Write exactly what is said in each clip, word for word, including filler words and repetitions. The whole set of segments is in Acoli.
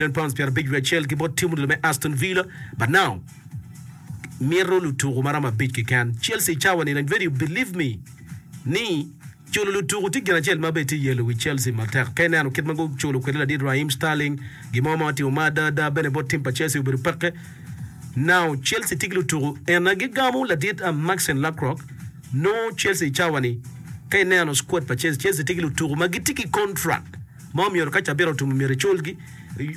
Million pounds pyerabic wiye acel ki bot tim odilo me Aston Villa but now mito lutuku maromo abic keken. Chelsea cawa ni radio believe me ni culo lutuku tye gin acel ma bene tye yelo wi Chelsea matek. Ka ineno kit ma guculo kwede ladit Raheem Sterling gin mo ma otimo ma ada ada bene bot tim pa Chelsea obedo peke. Now Chelsea tye ki lutuku ena gigamo ladit Maxence Lacroix nongo Chelsea cawa ni ka ineno squad pa Chelsea Chelsea tye ki lutuku ma gitye ki contract ma omyero ka cabit otum omyero iculgi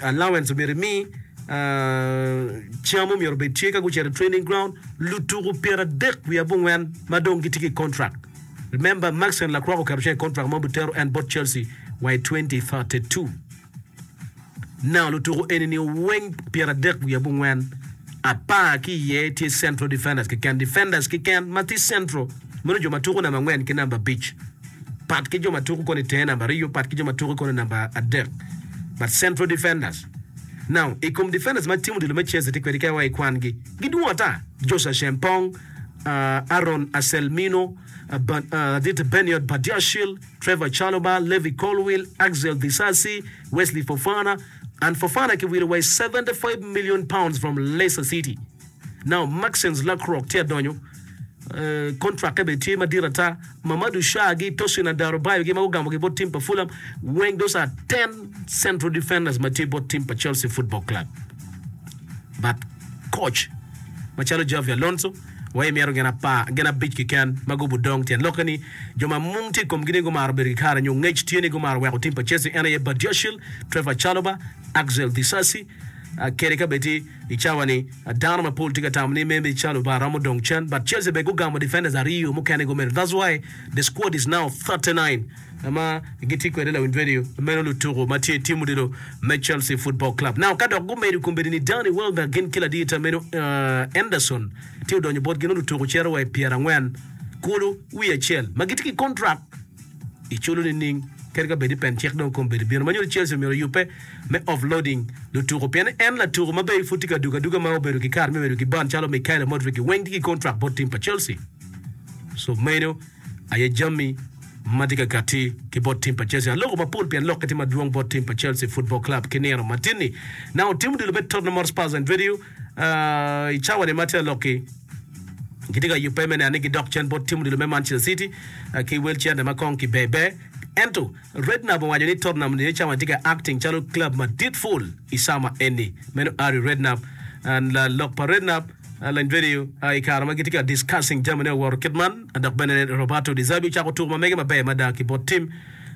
allowance omyero imi cam omyero obed tye ka gucito i training ground lutuku pyeradek wiye abongwen ma dong gitye ki contract remember Maxence Lacroix oketo cen i contract ma obitero en bot Chelsea wa i twenty thirty-two now lutuku eni-ni weng pyeradek wiye abongwen apar ki iye tye central defenders keken defenders keken ma tye central meno jo ma tuko namba angwen ki namba abic pat ki jo ma tuko kono i tenge namba aryo pat ki jo ma tuko kono i namba adek but central defenders now i kom defenders ma tim odilo me Chelsea tye kwede ka wa i kwangi gidwong ata Joshua Acheampong uh, Aaron Anselmino uh, Ban, uh, ladit Benoit Badiashile Trevor Chalobah Levi Colwill Axel Disasi Wesley Fofana and Fofana kiwilo wa i seventy-five million pounds from Leicester City now Maxence Lacroix tye adonyo uh, contract bene tye madit ata Mamadou Sarr gi Tosin Adarabioyo gi ma gugamo ki bot tim pa Fulham weng those are ten central defenders ma tye bot tim pa Chelsea Football Club but coach macalo Xavi Alonso wa imito gin apar gin abic keken ma gubu dong tyen lokke ni jo ma mung tye i komgi ni gumaro bedo ki kare nyo ngec tye ni gumaro weko tim pa Chelsea en aye Badiashile Trevor Chalobah Axel Disasi uh, kede ka bedi i cawa ni uh, dano mapol tye ka tamo ni maybe Chalobah romo dong cen but Chelsea be gugamo defenders aryo mukene gumedo that's why the squad is now thirty-nine ma gitye kwede lawiny radio meno lutuku ma tye tim odilo me Chelsea Football Club now ka dok gumedo kombeddi ni Danny Welbeck gin ki ladita meno uh, Anderson tye odonyo bot gin lutuku cito wa i pyerangwen kulu wiye acel ma gitye ki contract iculo nining kadi ka bedi pen cik dong kombeddi bino ma nyuto Chelsea omyero oyubbe me offloading lutuku pien en latuku ma be pud tye ka dugo aduga ma obedo ki kare me bedo ki ban calo Mykhailo Mudryk weng tye ki contract bot tim pa Chelsea so meno aye jami ma tye ka kati ki bot tim pa Chelsea aloko mapol pien lokke tye madwong bot tim pa Chelsea Football Club ki nino matin-ni now tim odilo me Tottenham Hotspur and video uh, i cawa ni ma tye alokki gitye ka yubbe me neno ni gidok cen bot tim odilo me Manchester City uh, ki wel cente ma kong kibebe ento Redknapp owaco ni Tottenham ni cawa tye ka acting calo club madit full i sama eni meno Harry Redknapp and uh, lok pa Redknapp uh, lany video uh, i kare ma gitye ka discussing jami ne owoto kit man dok bene Roberto De Zerbi ocako tuko ma mege maber mada ki bot tim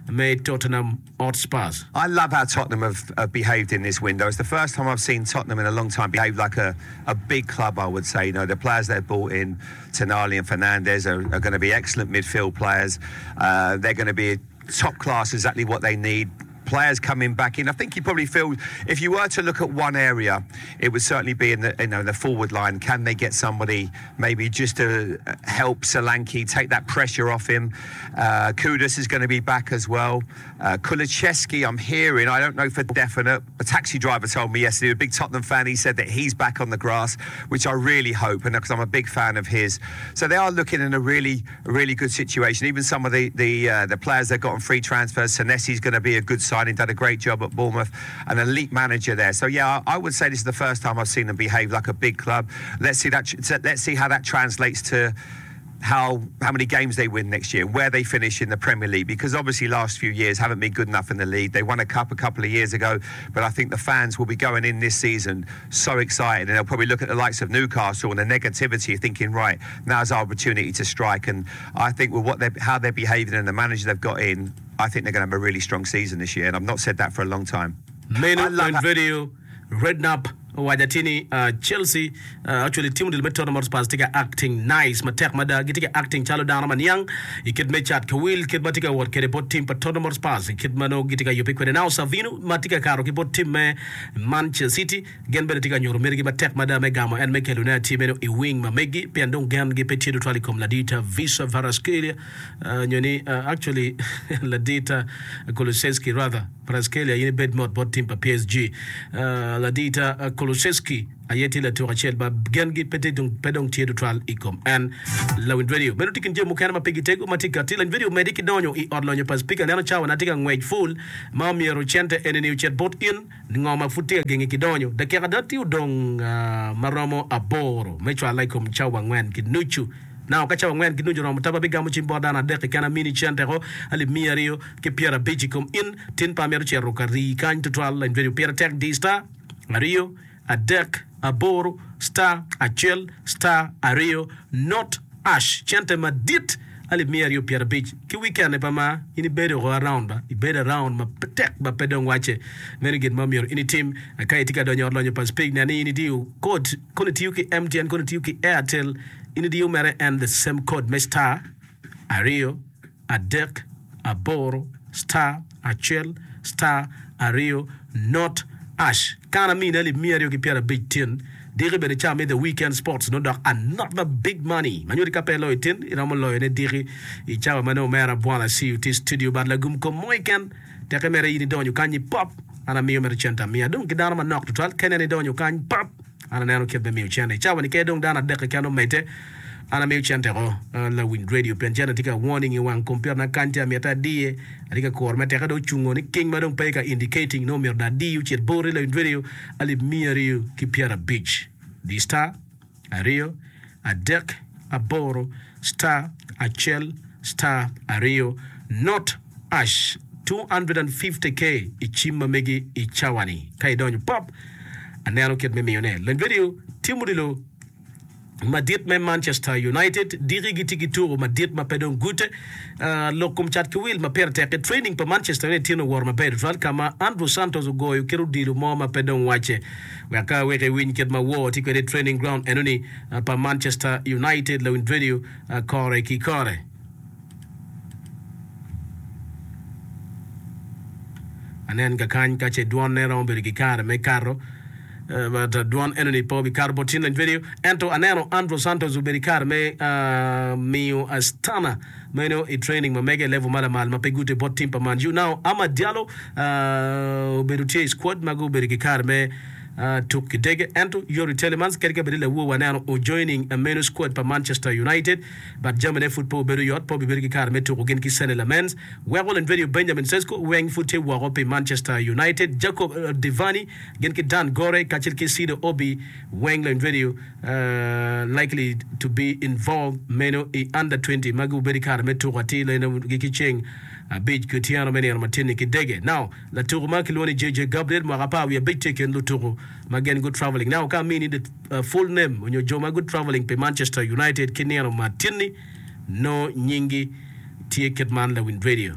me Tottenham Hotspurs. I love how Tottenham have, have behaved in this window. It's the first time I've seen Tottenham in a long time behave like a, a big club, I would say. You know, the players they've brought in, Tonali and Fernandes, are, are gonna be excellent midfield players. Uh, they're gonna be top class, exactly what they need. Players coming back in. I think you probably feel if you were to look at one area, it would certainly be in the, you know, the forward line. Can they get somebody maybe just to help Solanke take that pressure off him? Uh, Kudus is gonna be back as well. Uh, Kulusevski, I'm hearing, I don't know for definite. A taxi driver told me yesterday, a big Tottenham fan, he said that he's back on the grass, which I really hope, and 'cause I'm a big fan of his. So they are looking in a really, really good situation. Even some of the, the, uh, the players they've got on free transfers, Senesi's gonna be a good signing, done a great job at Bournemouth, an elite manager there. So yeah, I, I would say this is the first time I've seen them behave like a big club. Let's see that. Let's see how that translates to how, how many games they win next year, where they finish in the Premier League, because obviously last few years haven't been good enough in the league. They won a cup a couple of years ago, but I think the fans will be going in this season so excited, and they'll probably look at the likes of Newcastle and the negativity, thinking, right, now's our opportunity to strike. And I think with what they're, how they're behaving and the manager they've got in, I think they're gonna have a really strong season this year, and I've not said that for a long time. Meno I love in that. video, Redknapp owaco ni, uh, Chelsea, uh, actually team odilo me Tottenham Hotspur tye ka acting nice matek mada gitye ka acting calo dano ma niang i kit me cat ka wil kit ma tye ka wot kwede bot team pa Tottenham Hotspur i kit ma nongo gitye ka yubbe kwede. Now Savinho ma tye ka kato ki bot team me Manchester City gin bene tye ka nyuto mitigi matek mada me gamo en me kelone atir meno i wing ma megi pien dong gen gi pe tye tutwal i kom ladita Visa Kvaratskhelia, uh, nyo ni, uh, actually ladita Kulusevski rather Kvaratskhelia in ibed mot bot team pa P S G. Uh, ladita, uh, Kulusevski aye tye latuk acel ma gengi pe tye dong pe dong tye tutwal i kom en. Lawiny Radio meno tye kin jami mukene ma pigi tego ma tye kati. Lawiny Radio omedde ki donyo i ot lonyo pa Speaker neno cawa na tye ka ngwec full ma omyero cente eni-ni ocit bot in ngo ma pud tye ka gengi ki donyo. Dakika ada tye odong ma romo aboro me cwale i kom cawa angwen ki nucu. Now ka cawa angwen ki nucu oromo taba abigamo cim bot dano adek keken amini cente ko alip miya aryo ki pyerabic i kom in. Tin pe amito cito ka rii kany tutwal. Lawiny Radio pire tek di star aryo adek aboro star acel star aryo not ash cente madit alip miya aryo pyerabic ki weekend pa ma in ibedo oko around ba ibedo around ma tek ma pe dong wacce meno gin ma myero in itim ka itye ka donyo ot lonyo pa Speke nen ni in idiyo code kono itiyo ki M T N kono itiyo ki Airtel in idiyo mere en the same code me star aryo adek aboro star acel star aryo not ash kan amini alip miya aryo ki pyerabic tin diki bene ca me the weekend sports nongo dok another big money ma nyuto ka pe iloyo tin iromo loyone diki i cawa ma nongo omera Bwana C U tye studio but lagum kom mo keken teke mere in idonyo kany i pop an amiyo mere cente amiya dong ki dano manok tutwal ka ineno idonyo kany pop an aneno kit me miyo cente i cawa ni ke dong dano adek keken omedde an amiyo cente ko lawiny radio pien cente tye ka warning i wang computer na kany tye amite adiye atye ka kuro me teke dong ocungo ni king ma dong pe ka indicating nongo myero dong adiyo ocit boti lawiny radio alip miya aryo ki pyerabic di star aryo adek aboro star acel star aryo not ash two hundred and fifty k i cim ma megi i cawa ni ka idonyo pop aneno kit me miyone lawiny radio timo odilo madit me Manchester United diki gitye ki tuko madit ma pe dong gute. Lok kom cat ki wil ma pire tek i training pa Manchester United tye oworo maber tutwal ka ma Andrew Santos ogoyo kit odilo mo ma pe dong wacce. Wek ka wek iwiny kit ma wor tye kwede i training ground enoni pa Manchester United lawiny radio kore ki kore. Anen kakany ka ce dwonne romo bedo ki kare me kato. But dwon enoni pe obikato bot tin lany video. Ento aneno Andrew Santos obedo i kare me miyo Astana meno i training ma mege i level ma lamal ma pe gute bot team pa Man U. Now Amad Diallo obedo tye i squad ma gubedo ki kare me tuk ki dege. Ento Youri Tielemans kadi ka bed ni lawor waneno o joining meno squad pa Manchester United but jamine pud pe obedo yot, pe obibedo ki kare me tuko gin ki Senne Lammens. Weko lany video Benjamin Sesko weng pud tye woko pi Manchester United. Jacob Devaney gin ki Dan Gore kacel ki Sido Obi weng lany video likely to be involved meno i under twenty ma gubedo i kare me tuko atir leno gi ki ceng abic ki otyeno me nino matin-ni ki dege. Now latuko ma kilwongo ni J J Gabriel mwaka apar wiye abic tye i kin lutuko ma gin good traveling. Now ka amini the full name onyo jo ma good traveling pi Manchester United ki nino matin-ni nongo nyingi tye kit man lawiny radio.